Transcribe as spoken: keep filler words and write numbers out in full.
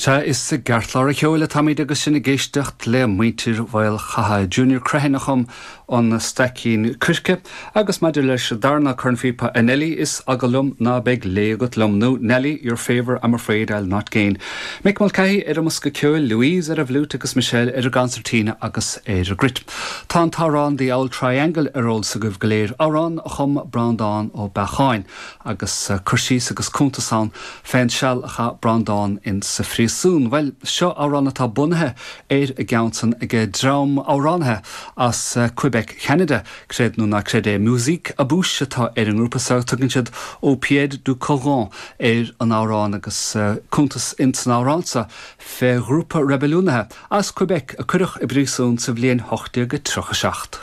Sea is i gceartlár an cheoil atáimid agus sinn ag éisteacht le muintir Mhaolchatha Junior Crehan a chum an Staicín Coirce agus maidir leis darna cornphíopa a Nelly is eagal liom ná beidh lé agat liom nó Nelly your favour I'm afraid I'll not gain. Mick Mulcahy ar an mbosca ceoil Louise ar an bhfliúit agus Michelle ar an gconsairtín agus ar an gcruit. Tá an t-amhrán The Auld Triangle ar eolas agaibh go léir amhrán a chum Breandán Ó Beacháin agus eh, cur síos agus cuntas ann fén seal a chaith Breandán in sa phríosún. Well seo amhrán atá bunaithe ar an gceann san ag dream amhránaithe as eh, Quebec Canada, creid nó ná creid é Musique à Bouche atá ar an ngrúpa sa tugann siad Au pied du Coran ar an amhrán agus uh, cuntas in san amhrán seo fé ghrúpa reibiliúnaithe as Quebec a cuireadh i bpríosún sa bhliain ocht déag tríocha seacht.